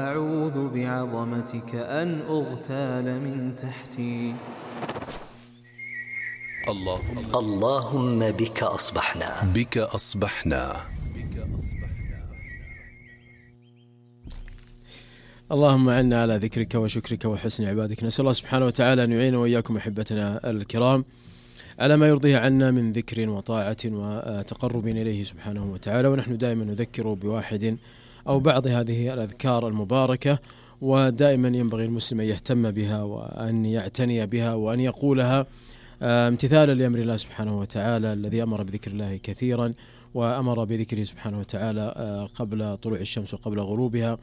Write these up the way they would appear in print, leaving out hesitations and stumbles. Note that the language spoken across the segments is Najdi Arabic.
أعوذ بعظمتك أن أغتال من تحتي. اللهم بك أصبحنا. اللهم عنا على ذكرك وشكرك وحسن عبادك. نسأل الله سبحانه وتعالى أن يعين وإياكم أحبتنا الكرام على ما يرضيه عنا من ذكر وطاعة وتقرب إليه سبحانه وتعالى. ونحن دائما نذكر بواحد أو بعض هذه الأذكار المباركة، ودائما ينبغي المسلم أن يهتم بها وأن يعتني بها وأن يقولها امتثالا لأمر الله سبحانه وتعالى الذي أمر بذكر الله كثيرا، وأمر بذكره سبحانه وتعالى قبل طلوع الشمس وقبل غروبها.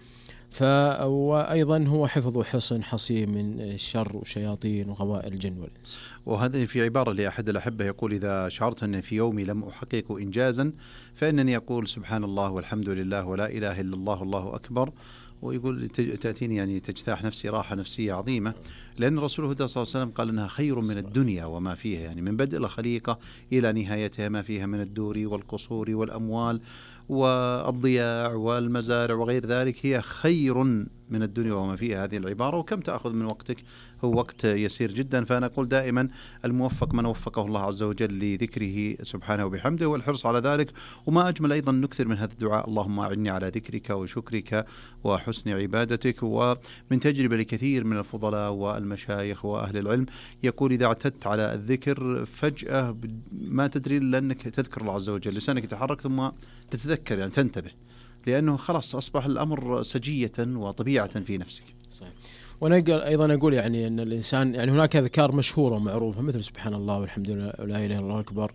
وأيضا هو حفظ حصن حصين من الشر وشياطين وغوائل الجن والإنس. وهذا في عبارة لأحد الأحبة يقول: إذا شعرت أن في يومي لم أحقق إنجازا فإنني أقول سبحان الله والحمد لله ولا إله إلا الله والله أكبر. ويقول تأتيني يعني تجتاح نفسي راحة نفسية عظيمة، لأن الرسول صلى الله عليه وسلم قال إنها خير من الدنيا وما فيها، يعني من بدء الخليقة إلى نهايتها ما فيها من الدور والقصور والأموال والضياع والمزارع وغير ذلك هي خير من الدنيا وما فيها. هذه العبارة وكم تأخذ من وقتك؟ هو وقت يسير جدا. فأنا أقول دائما الموفق من وفقه الله عز وجل لذكره سبحانه وبحمده والحرص على ذلك. وما أجمل أيضا نكثر من هذا الدعاء: اللهم أعني على ذكرك وشكرك وحسن عبادتك. ومن تجربة لكثير من الفضلاء والمشايخ وأهل العلم يقول: إذا اعتدت على الذكر فجأة ما تدري إلا أنك تذكر الله عز وجل، لسانك يتحرك ثم تتذكر، يعني تنتبه، لأنه خلاص أصبح الأمر سجية وطبيعة في نفسك. صحيح. وأنا أيضا أقول يعني أن الإنسان يعني هناك أذكار مشهورة ومعروفة مثل سبحان الله والحمد لله ولا إله إلا الله أكبر،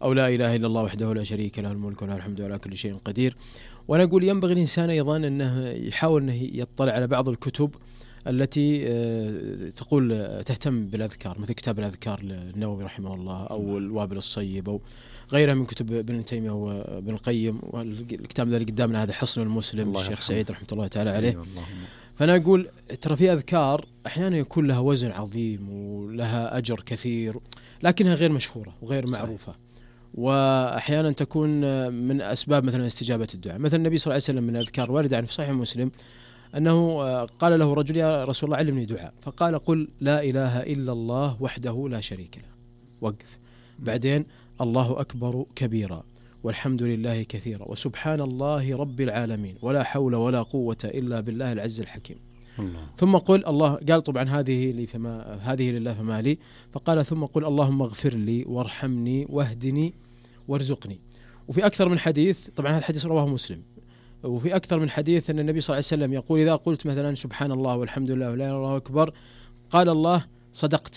أو لا إله إلا الله وحده لا شريك له الملك وله الحمد على كل شيء قدير. وأنا أقول ينبغي الإنسان أيضا أنه يحاول أنه يطلع على بعض الكتب التي تقول تهتم بالأذكار، مثل كتاب الأذكار للنووي رحمه الله أو الوابل الصيب أو غيرها من كتب ابن تيمية وابن القيم. والكتاب الذي قدامنا هذا حصن المسلم الشيخ سعيد رحمة الله تعالى عليه. فأنا أقول ترى في أذكار أحيانا يكون لها وزن عظيم ولها أجر كثير لكنها غير مشهورة وغير معروفة، وأحيانا تكون من أسباب مثلا استجابة الدعاء. مثل النبي صلى الله عليه وسلم من الأذكار واردة عن في صحيح مسلم أنه قال له رجل: يا رسول الله علمني دعاء، فقال: قل لا إله إلا الله وحده لا شريك له، وقف. بعدين: الله أكبر كبيرا والحمد لله كثيرا وسبحان الله رب العالمين ولا حول ولا قوة إلا بالله العز الحكيم. الله. ثم قل الله، قال طبعا هذه لله فما لي، فقال ثم قل اللهم اغفر لي وارحمني واهدني وارزقني. وفي أكثر من حديث، طبعا هذا الحديث رواه مسلم، وفي أكثر من حديث أن النبي صلى الله عليه وسلم يقول: إذا قلت مثلا سبحان الله والحمد لله ولا إله إلا الله أكبر، قال الله: صدقت